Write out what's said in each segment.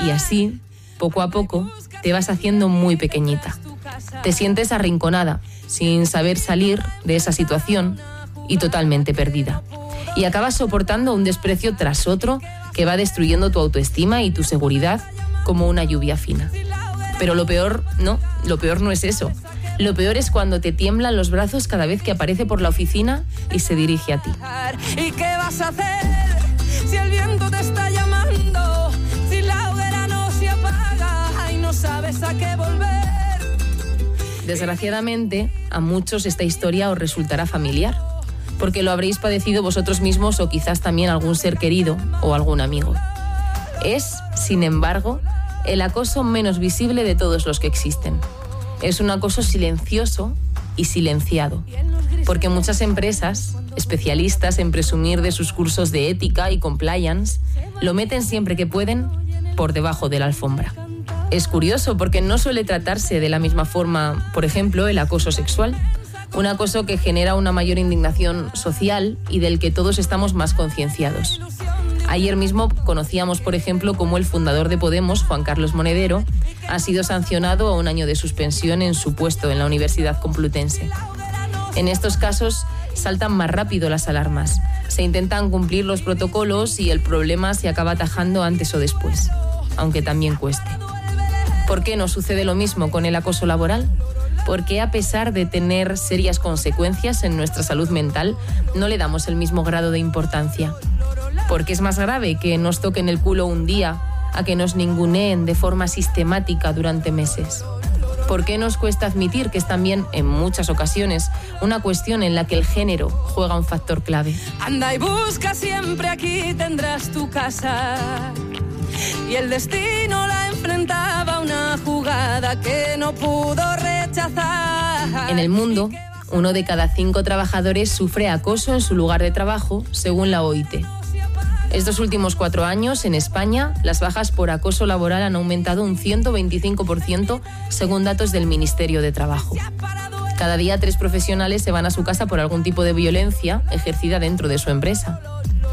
Y así, poco a poco, te vas haciendo muy pequeñita. Te sientes arrinconada, sin saber salir de esa situación y totalmente perdida. Y acabas soportando un desprecio tras otro que va destruyendo tu autoestima y tu seguridad como una lluvia fina. Pero lo peor no es eso. Lo peor es cuando te tiemblan los brazos cada vez que aparece por la oficina y se dirige a ti. ¿Y qué vas a hacer si el viento te está llamando? Si la hoguera no se apaga y no sabes a qué volver. Desgraciadamente, a muchos esta historia os resultará familiar, porque lo habréis padecido vosotros mismos o quizás también algún ser querido o algún amigo. Es, sin embargo, el acoso menos visible de todos los que existen. Es un acoso silencioso y silenciado, porque muchas empresas, especialistas en presumir de sus cursos de ética y compliance, lo meten siempre que pueden por debajo de la alfombra. Es curioso porque no suele tratarse de la misma forma, por ejemplo, el acoso sexual, un acoso que genera una mayor indignación social y del que todos estamos más concienciados. Ayer mismo conocíamos, por ejemplo, cómo el fundador de Podemos, Juan Carlos Monedero, ha sido sancionado a 1 año de suspensión en su puesto en la Universidad Complutense. En estos casos saltan más rápido las alarmas, se intentan cumplir los protocolos y el problema se acaba atajando antes o después, aunque también cueste. ¿Por qué no sucede lo mismo con el acoso laboral? Porque a pesar de tener serias consecuencias en nuestra salud mental, no le damos el mismo grado de importancia. Porque es más grave que nos toquen el culo un día a que nos ninguneen de forma sistemática durante meses. ¿Por qué nos cuesta admitir que es también, en muchas ocasiones, una cuestión en la que el género juega un factor clave? Anda y busca siempre, aquí tendrás tu casa. Y el destino la enfrentaba a una jugada que no pudo rechazar. En el mundo, 1 de cada 5 trabajadores sufre acoso en su lugar de trabajo, según la OIT. Estos últimos 4 años, en España, las bajas por acoso laboral han aumentado un 125% según datos del Ministerio de Trabajo. Cada día 3 profesionales se van a su casa por algún tipo de violencia ejercida dentro de su empresa.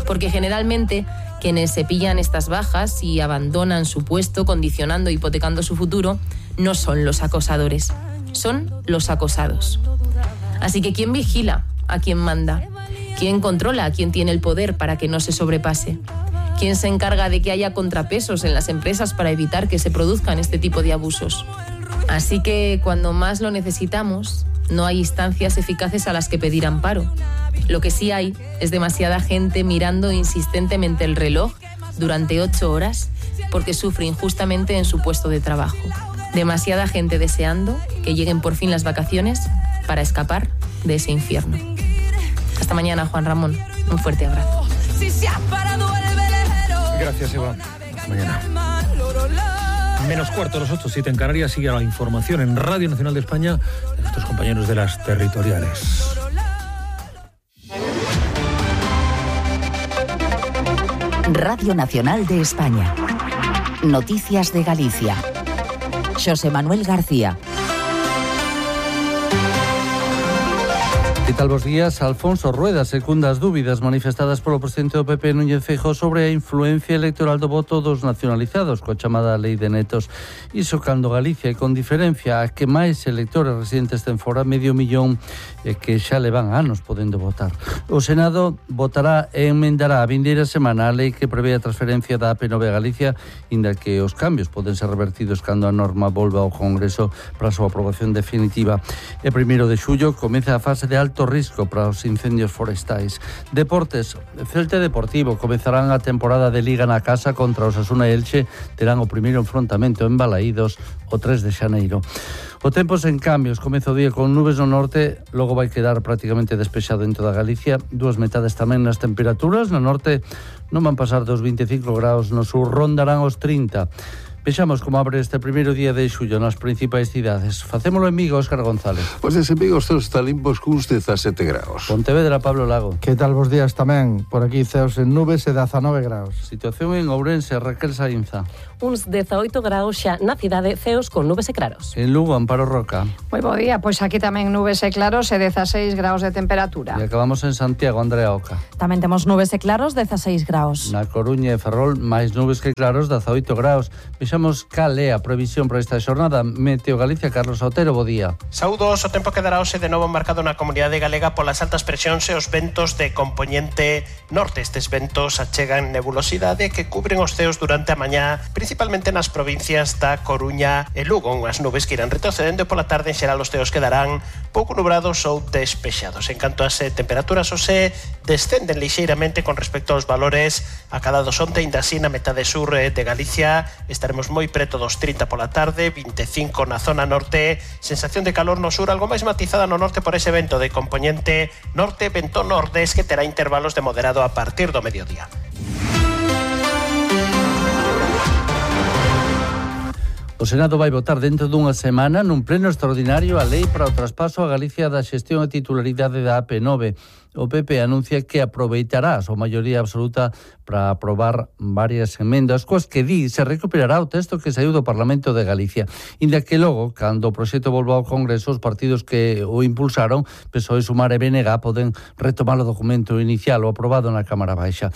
Porque generalmente quienes se pillan estas bajas y abandonan su puesto, condicionando e hipotecando su futuro, no son los acosadores, son los acosados. Así que ¿quién vigila a quién manda? ¿Quién controla a quién tiene el poder para que no se sobrepase? ¿Quién se encarga de que haya contrapesos en las empresas para evitar que se produzcan este tipo de abusos? Así que cuando más lo necesitamos, no hay instancias eficaces a las que pedir amparo. Lo que sí hay es demasiada gente mirando insistentemente el reloj durante 8 horas porque sufre injustamente en su puesto de trabajo. Demasiada gente deseando que lleguen por fin las vacaciones para escapar de ese infierno. Hasta mañana, Juan Ramón. Un fuerte abrazo. Gracias, Eva. Hasta mañana. Menos cuarto, las 8:07 en Canarias. Sigue la información en Radio Nacional de España de nuestros compañeros de las territoriales. Radio Nacional de España. Noticias de Galicia. Xosé Manuel García. Que tal bos días? Alfonso Rueda secunda as dúbidas manifestadas polo presidente do PP Núñez Feijóo sobre a influencia electoral do voto dos nacionalizados coa chamada Lei de Netos. Iso cando Galicia, e con diferencia a que máis electores residentes ten fora, 500.000 que xa levan anos podendo votar. O Senado votará e enmendará a vindeira semana a lei que prevé a transferencia da AP9 a Galicia, inda que os cambios poden ser revertidos cando a norma volva ao Congreso para a súa aprobación definitiva. E 1 de xullo comeza a fase de alto risco para os incendios forestais. Deportes, Celta e Deportivo comezarán a temporada de Liga na casa contra Osasuna e Elche, terán o primeiro enfrontamento en Balaídos o 3 de xaneiro. O tempo sen cambios, comeza o día con nubes no norte, logo vai quedar prácticamente despexado dentro da Galicia, 2 metades tamén nas temperaturas, no norte non van pasar dos 25 graus, no sur rondarán os 30. Vexamos como abre este primeiro día de xullo nas principais cidades. Facémolo en Vigo, Óscar González. Pois en Vigo os está limpos cuns 17 graus. Pontevedra, Pablo Lago. Que tal vos días tamén? Por aquí ceos en nubes e 19 graus. Situación en Ourense, Raquel Sainza. Uns 18 graus xa na cidade, ceos con nubes e claros. En Lugo, Amparo Roca. Moi bo día, pois aquí tamén nubes e claros e 16 graus de temperatura. E acabamos en Santiago, Andrea Oca. Tamén temos nubes e claros, 16 graus. Na Coruña e Ferrol, máis nubes que claros, 18 graus. Vexamos cal é a previsión para esta xornada. Meteo Galicia, Carlos Otero, bo día. Saúdos, o tempo quedará hoxe de novo marcado na comunidade galega polas altas presións e os ventos de compoñente norte. Estes ventos achegan nebulosidade que cubren os ceos durante a mañá, principalmente nas provincias da Coruña e Lugo. Unhas nubes que irán retrocedendo e pola tarde en xeral os ceos quedarán pouco nubrados ou despexados. En canto ás temperaturas, hoxe descenden lixeiramente con respecto aos valores acadados onte, ainda así na metade sur de Galicia estaremos moi preto dos 30 pola tarde, 25 na zona norte, sensación de calor no sur, algo máis matizada no norte por ese vento de compoñente norte, vento nordés que terá intervalos de moderado a partir do mediodía. O Senado vai votar dentro dunha semana nun pleno extraordinario a lei para o traspaso a Galicia da xestión e titularidade da AP9. O PP anuncia que aproveitará a súa maioría absoluta para aprobar varias emendas, coas que di se recuperará o texto que saiu do Parlamento de Galicia. Inda que logo, cando o proxecto volva ao Congreso, os partidos que o impulsaron, PSOE, Sumar e BNG, poden retomar o documento inicial o aprobado na Cámara Baixa.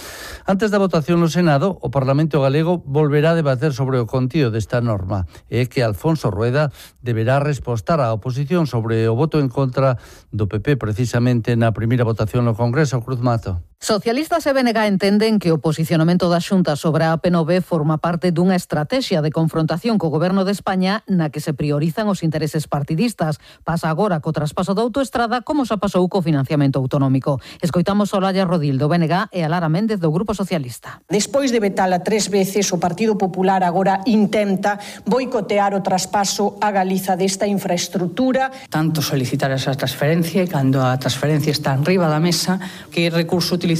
Antes da votación no Senado, o Parlamento galego volverá a debater sobre o contido desta norma e que Alfonso Rueda deberá respostar á oposición sobre o voto en contra do PP precisamente na primeira votación no Congreso. Cruz Mato. Socialistas e BNG entenden que o posicionamento da Xunta sobre a AP9 forma parte dunha estrategia de confrontación co Goberno de España na que se priorizan os intereses partidistas. Pasa agora co traspaso da autoestrada como xa pasou co financiamento autonómico. Escoitamos a Olalla Rodil do BNG e a Lara Méndez do Grupo Socialista. Despois de vetala 3 veces, o Partido Popular agora intenta boicotear o traspaso a Galiza desta infraestructura. Tanto solicitar esa transferencia, cando a transferencia está enriba da mesa, que recurso utilizamos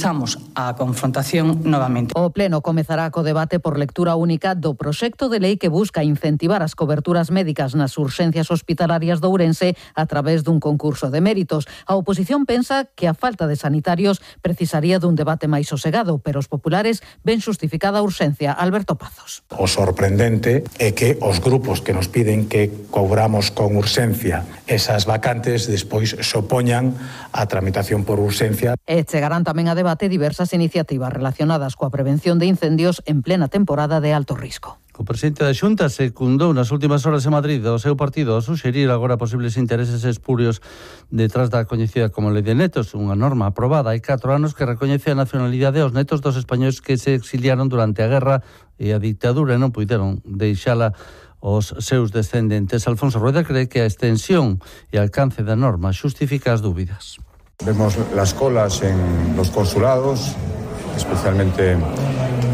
a confrontación novamente. O Pleno comezará co debate por lectura única do proxecto de lei que busca incentivar as coberturas médicas nas urxencias hospitalarias de Ourense a través dun concurso de méritos. A oposición pensa que a falta de sanitarios precisaría dun debate máis sosegado, pero os populares ven xustificada a urxencia. Alberto Pazos. O sorprendente é que os grupos que nos piden que cobramos con urxencia esas vacantes despois se opoñan á tramitación por urxencia. E chegarán tamén a debate diversas iniciativas relacionadas coa prevención de incendios en plena temporada de alto risco. O presidente da Xunta secundou nas últimas horas en Madrid o seu partido a suxerir agora posibles intereses espurios detrás da coñecida como Lei de Netos, unha norma aprobada hai 4 anos que recoñece a nacionalidade aos netos dos españois que se exiliaron durante a guerra e a dictadura e non puideron deixala os seus descendentes. Alfonso Rueda cree que a extensión e alcance da norma xustifica as dúbidas. Vemos las colas en los consulados, especialmente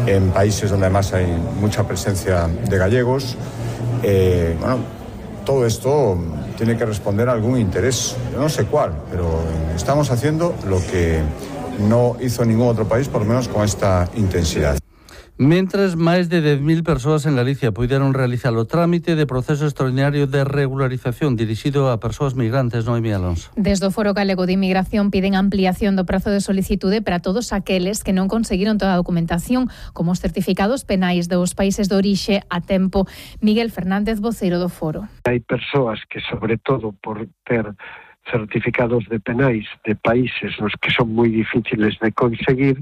en países donde además hay mucha presencia de gallegos. Todo esto tiene que responder a algún interés, yo no sé cuál, pero estamos haciendo lo que no hizo ningún otro país, por lo menos con esta intensidad. Mentres máis de 10.000 persoas en Galicia puideron realizar o trámite de proceso extraordinario de regularización dirixido a persoas migrantes, Noemí Alonso. Desde o Foro Galego de Inmigración piden ampliación do prazo de solicitude para todos aqueles que non conseguiron toda a documentación, como os certificados penais dos países de orixe a tempo. Miguel Fernández, voceiro do Foro. Hai persoas que, sobre todo por ter certificados de penais de países nos que son moi difíciles de conseguir,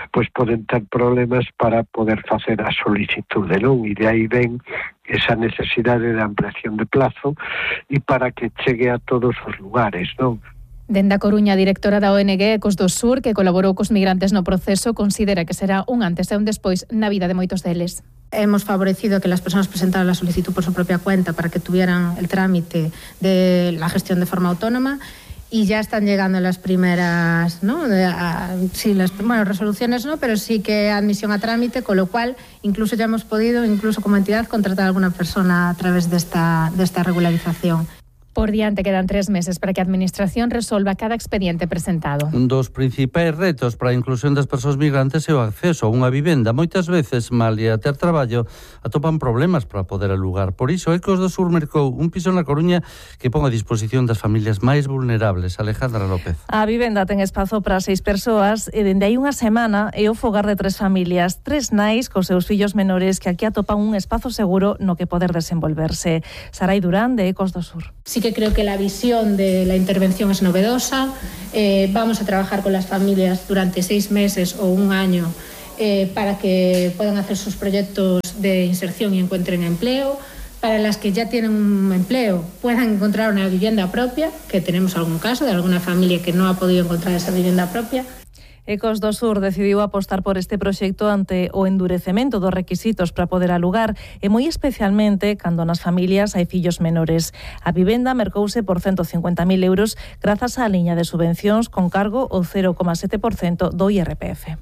pois poden ter problemas para poder facer a solicitude, non? E de aí ven esa necesidade de ampliación de plazo e para que chegue a todos os lugares, non? Dende a Coruña, a directora da ONG Ecos do Sur, que colaborou cos migrantes no proceso, considera que será un antes e un despois na vida de moitos deles. Hemos favorecido que las personas presentaran la solicitud por su propia cuenta para que tuvieran el trámite de la gestión de forma autónoma y ya están llegando las primeras, ¿no? Resoluciones no, pero sí que admisión a trámite, con lo cual incluso ya hemos podido, incluso como entidad, contratar a alguna persona a través de esta regularización. Por diante quedan 3 meses para que a Administración resolva cada expediente presentado. Un dos principais retos para a inclusión das persoas migrantes é o acceso a unha vivenda. Moitas veces, malia ter traballo, atopan problemas para poder alugar. Por iso, Ecos do Sur mercou un piso na Coruña que pon a disposición das familias máis vulnerables. Alejandra López. A vivenda ten espazo para 6 persoas e dende hai unha semana é o fogar de 3 familias, 3 nais cos seus fillos menores que aquí atopan un espazo seguro no que poder desenvolverse. Sarai Durán, de Ecos do Sur. Sí que creo que la visión de la intervención es novedosa. Vamos a trabajar con las familias durante 6 meses o un año para que puedan hacer sus proyectos de inserción y encuentren empleo. Para las que ya tienen un empleo puedan encontrar una vivienda propia, que tenemos algún caso de alguna familia que no ha podido encontrar esa vivienda propia. Ecos do Sur decidiu apostar por este proxecto ante o endurecemento dos requisitos para poder alugar e moi especialmente cando nas familias hai fillos menores. A vivenda mercouse por 150.000 euros grazas á liña de subvencións con cargo o 0,7% do IRPF.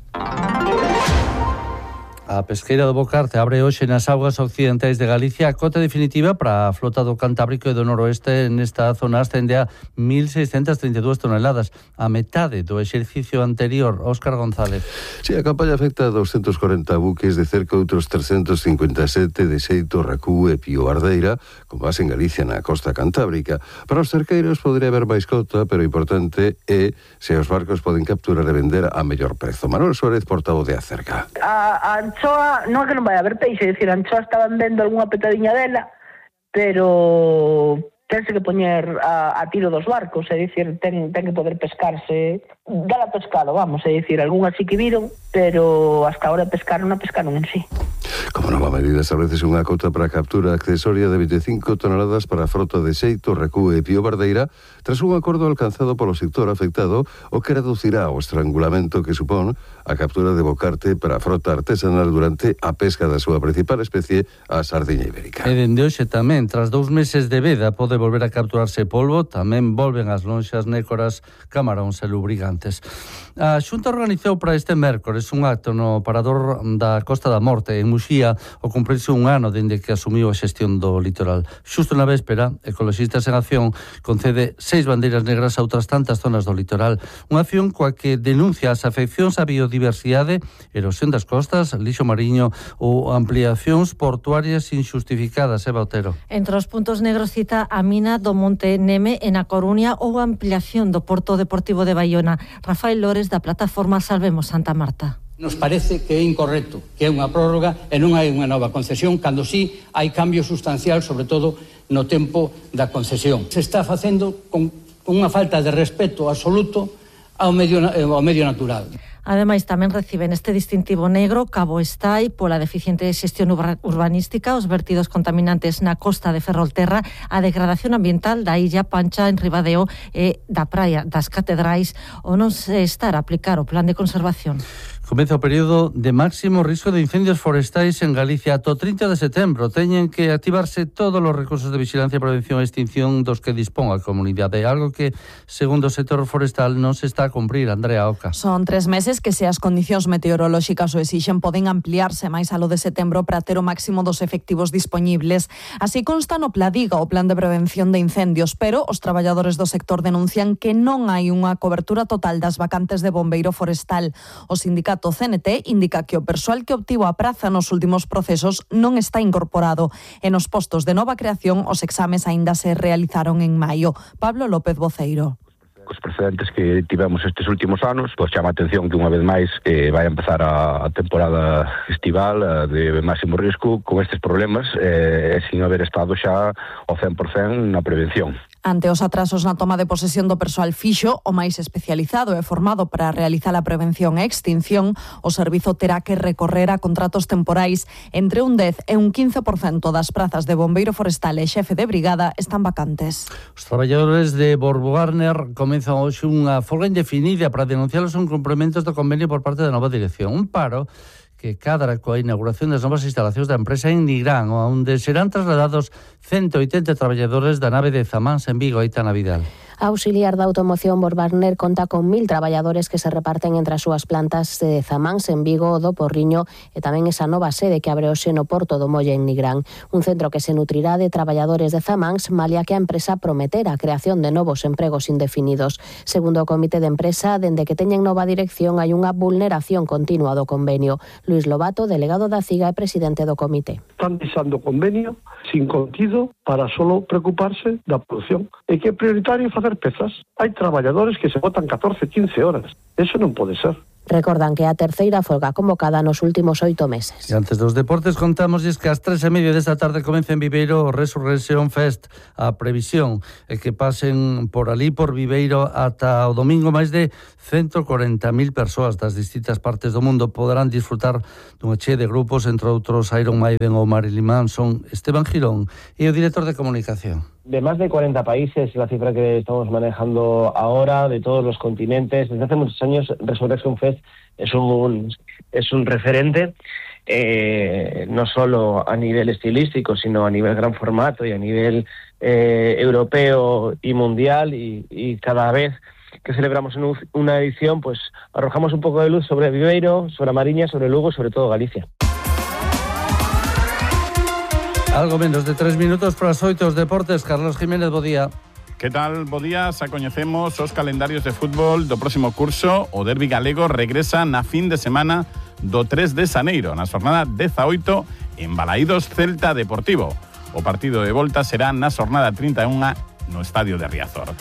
A pesqueira do Bocarte abre hoxe nas augas occidentais de Galicia a cota definitiva para a flota do Cantábrico e do Noroeste. Nesta zona ascende a 1.632 toneladas, a metade do exercicio anterior. Óscar González. Sí, a campaña afecta a 240 buques de cerca outros 357 de Xeito, Racú e Pío Ardeira, con base en Galicia na costa cantábrica. Para os cerqueiros podría haber máis cota, pero o importante é se os barcos poden capturar e vender a mellor prezo. Manuel Suárez, portavoz de Acerca. A anchoa non é que non vai haber peixe, é dicir, a anchoa estaban vendo algunha petadiña dela, pero tense que poñer a tiro dos barcos, é dicir, ten que poder pescarse, dala pescado, vamos, é dicir, algunhas sí que viron, pero hasta ahora pescaron en sí. Como nova medida establece unha cota para a captura accesoria de 25 toneladas para a frota de Xeito, Racú e Pío Bardeira, tras un acordo alcanzado polo sector afectado, o que reducirá o estrangulamento que supón a captura de bocarte para a frota artesanal durante a pesca da súa principal especie, a sardiña ibérica. E dende hoxe tamén, tras 2 meses de veda, pode volver a capturarse polvo, tamén volven as lonxas, nécoras, camaróns e lubrigantes. A Xunta organizou para este mércores un acto no parador da Costa da Morte, en Muxía, ao cumprirse un ano dende que asumiu a xestión do litoral. Xusto na véspera, Ecoloxistas en Acción concede 6 bandeiras negras a outras tantas zonas do litoral. Unha acción coa que denuncia as afeccións á biodiversidade, erosión das costas, lixo mariño ou ampliacións portuarias injustificadas. Eva Otero. Entre os puntos negros cita a mina do Monte Neme en A Coruña ou a ampliación do Porto Deportivo de Baiona. Rafael Lores, da plataforma Salvemos Santa Marta. Nos parece que é incorrecto, que é unha prórroga e non hai unha nova concesión, cando sí hai cambio sustancial, sobre todo no tempo da concesión. Se está facendo con unha falta de respeto absoluto ao medio natural. Ademais, tamén reciben este distintivo negro Cabo Estai pola deficiente xestión urbanística, os vertidos contaminantes na costa de Ferrolterra, a degradación ambiental da illa Pancha en Ribadeo e da praia das Catedrais, ou non se estar a aplicar o plan de conservación. Comeza o período de máximo risco de incendios forestais en Galicia. Ata o 30 de setembro teñen que activarse todos os recursos de vigilancia, prevención e extinción dos que dispón a comunidade. Algo que, segundo o sector forestal, non se está a cumprir. Andrea Oca. Son 3 meses que, se as condicións meteorolóxicas o exixen, poden ampliarse máis a lo de setembro para ter o máximo dos efectivos dispoñibles. Así consta no Pladiga, o plan de prevención de incendios, pero os traballadores do sector denuncian que non hai unha cobertura total das vacantes de bombeiro forestal. O sindicato CNT indica que o persoal que obtivo a praza nos últimos procesos non está incorporado e nos postos de nova creación os exames aínda se realizaron en maio. Pablo López Voceiro. Cos precedentes que tivemos estes últimos anos, pois chama a atención que unha vez máis vai empezar a temporada estival de máximo risco con estes problemas sin haber estado xa ao 100% na prevención. Ante os atrasos na toma de posesión do persoal fixo, o máis especializado e formado para realizar a prevención e extinción, o servizo terá que recorrer a contratos temporais. Entre un 10 e un 15% das prazas de bombeiro forestal e xefe de brigada están vacantes. Os traballadores de Borbo Garner comezan hoxe unha folga indefinida para denunciar os incumprimentos do convenio por parte da nova dirección. Un paro que cadra coa inauguración das novas instalacións da empresa en Nigrán, onde serán trasladados 180 traballadores da nave de Zamáns en Vigo, Aitana Vidal. A auxiliar da automoción Borbarner conta con 1000 traballadores que se reparten entre as súas plantas de Zamáns en Vigo, do Porriño e tamén esa nova sede que abre hoxe no Porto do Molle en Nigrán. Un centro que se nutrirá de traballadores de Zamáns, malia que a empresa prometera a creación de novos empregos indefinidos. Segundo o comité de empresa, dende que teñen nova dirección hai unha vulneración continua do convenio. Luís Lobato, delegado da CIGA e presidente do comité. Están deixando o convenio sin contido para solo preocuparse da produción. E que é prioritario facer pezas. Hai traballadores que se botan 14, 15 horas. Eso non pode ser. Recordan que a terceira folga convocada nos últimos 8 meses. E antes dos deportes contámosles que ás 3:30 desta tarde comeza en Viveiro o Resurrection Fest. A previsión é que pasen por ali, por Viveiro, ata o domingo máis de 140.000 persoas das distintas partes do mundo poderán disfrutar dunha chea de grupos, entre outros Iron Maiden ou Marilyn Manson. Esteban Girón é o director de comunicación. De más de 40 países, la cifra que estamos manejando ahora, de todos los continentes. Desde hace muchos años, Resurrection Fest es un referente, no solo a nivel estilístico, sino a nivel gran formato y a nivel europeo y mundial. Y cada vez que celebramos una edición, pues arrojamos un poco de luz sobre Viveiro, sobre a Mariña, sobre Lugo, sobre todo Galicia. Algo menos de 3 minutos para as 8 os deportes. Carlos Jiménez, bo día. Que tal? Bo día, xa coñecemos os calendarios de fútbol do próximo curso. O derbi galego regresa na fin de semana do 3 de xaneiro, na xornada 18 en Balaídos Celta Deportivo. O partido de volta será na xornada 31 no Estadio de Riazor.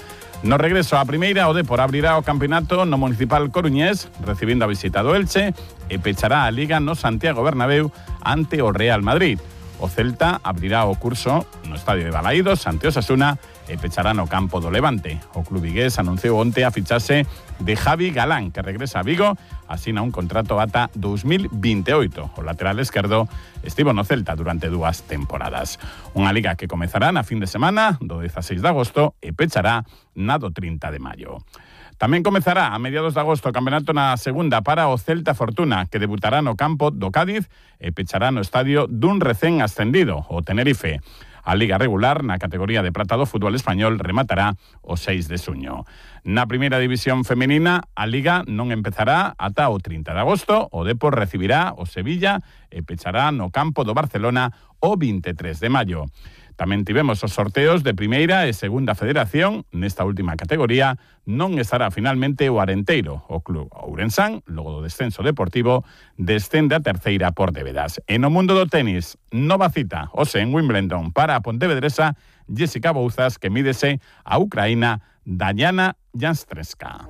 No regreso á primeira, o Depor abrirá o campeonato no Municipal Coruñés, recibindo a visita do Elche, e pechará a Liga no Santiago Bernabéu ante o Real Madrid. O Celta abrirá o curso no Estadio de Balaídos ante Osasuna e pechará no campo do Levante. O club vigués anunciou onte a fichaxe de Javi Galán, que regresa a Vigo, asina un contrato ata 2028. O lateral esquerdo estivo no Celta durante 2 temporadas. Unha liga que comezará na fin de semana do 16 de agosto e pechará na do 30 de maio. Tamén comezará a mediados de agosto o campeonato na segunda para o Celta Fortuna, que debutará no campo do Cádiz e pechará no estadio dun recén ascendido, o Tenerife. A liga regular na categoría de prata do fútbol español rematará o 6 de xuño. Na primeira división femenina, a liga non empezará ata o 30 de agosto. O Depor recibirá o Sevilla e pechará no campo do Barcelona o 23 de maio. Tamén tivemos os sorteos de primeira e segunda federación. Nesta última categoría non estará finalmente o Arenteiro. O club ourensán, logo do descenso deportivo, descende a terceira por débedas. E no mundo do tenis, nova cita, hoxe en Wimbledon, para a pontevedresa Jessica Bouzas, que mídese a ucraína Dayana Janstreska.